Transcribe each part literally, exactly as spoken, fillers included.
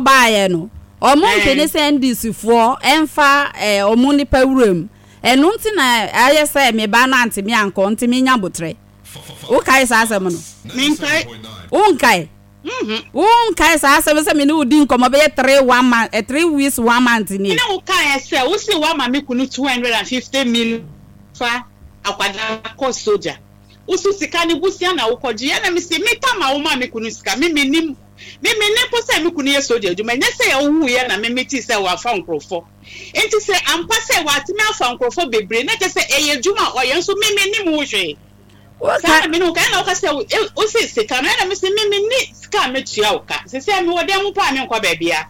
Baeɛ no, ɔmo mpene sɛ N D C foɔ ɛmfa ɛɛ ɔmo nipa wura mu. Ɛno nti na ayɛ sɛ me ba no ante me ankɔ, nti menya botrɛ. Wokae saa asɛm no? Menkae. Wonkae? Mhm. Wonkae saa asɛm sɛ me ne wo di nkɔmmɔ bɛyɛ three one month, eh, three weeks one month nie? Ne wo kaeɛ sɛ wo se woama me kunu two hundred and fifty million fa akwadaa kɔ sogya. Wo so sika ne busua na wokɔgye. Ɛna me se me tam a woma me kunu sika, me menim. Me menim po sɛ me kunu yɛ sogya adwuma. Ɛnyɛ sɛ ɔwuiɛ na me metee sɛ wafa nkurɔfoɔ. Nti sɛ ampa sɛ watumi afa nkurɔfoɔ bebree na kyerɛ sɛ ɛyɛ adwuma a ɔyɛ nso, me menim wo hwee. Saa na me ne wo ka. Ɛna woka sɛ wo se sika no, ɛna me se me menni sika a metua wo ka. Sɛ mewɔ dan mu paa, menkɔ baabia.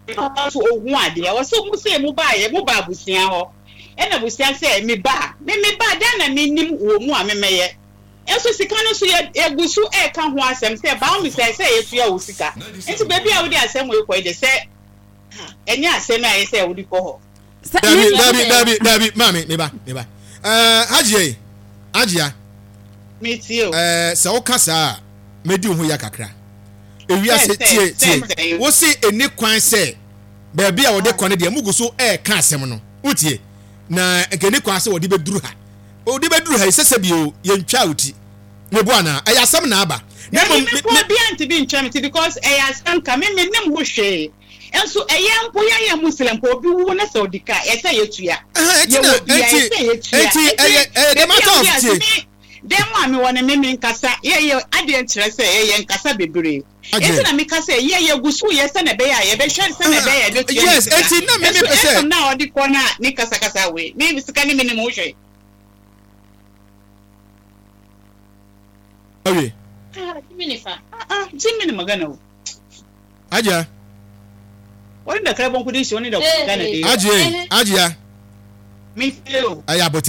Nso ohu adeɛ ɔsɛ mo sɛ mo baayɛ, mo ba abusua hɔ, ɛna abusua sɛ me ba, me me ba dan na menim wɔ mu a memɛyɛ. Nso sika no nso yɛ yɛgu so ɛɛka ho asɛm sɛ baa mi sɛ sɛ yɛtua wo sika. Nti beebi a wode asɛm wei kɔ yi de, sɛ ɛnyɛ asɛm a ɛyɛ sɛ wode kɔ hɔ. Dabi, dabi, dabi, dabi, maame, meba, meba. ɛɛ Hajiya yi, Hajiya. Metie o. ɛɛ sɛ woka saa a, medi wo ho ya kakra. Ewiase, tie, tie, wosi eni kwan sɛ baabi a wɔde kɔ no deɛ, mugu so ɛɛka asɛm no. Wotie na nka eni kwan sɛ wɔde bɛduru ha, wɔde bɛduru ha yi sɛsɛ bio, yɛntwa wo ti mebo anaa ɛyɛ asɛm na aba na mmom me me obi antumi ntwa me ti because ɛyɛ asɛm ka me me nim ho hwee. Nso ɛyɛ mpo yɛn yɛ Muslim mpo, obi wu na sɛ ɔdi ka, ɛsɛ yɛtua. Yɛwɔ bia ɛsɛ yɛtua. Nti ɛyɛ ɛyɛ the matter of, tie. Dan mu a mewɔ no, me me nkasa yɛyɛ adeɛ nkyerɛ sɛ yɛyɛ nkasa bebree. Nti na meka sɛ yɛ yɛgu so yɛ sɛ na ɛbɛyɛ a yɛbɛhwɛ sɛ na ɛbɛyɛ a yɛbɛtua ne yes sika. Eti na me me nso pɛ sɛ ɛsom na ɔde kɔ na ne kasakasa wei, me sika ne me nim ho hwee. Awie. Ah, Jimmy fa. Ah ah, Jimmy ni magana o. Hajiya. Wani da karban kudin shi, wani da Ghana da Hajiya, Hajiya. Me tie o. Ɛyɛ abotire.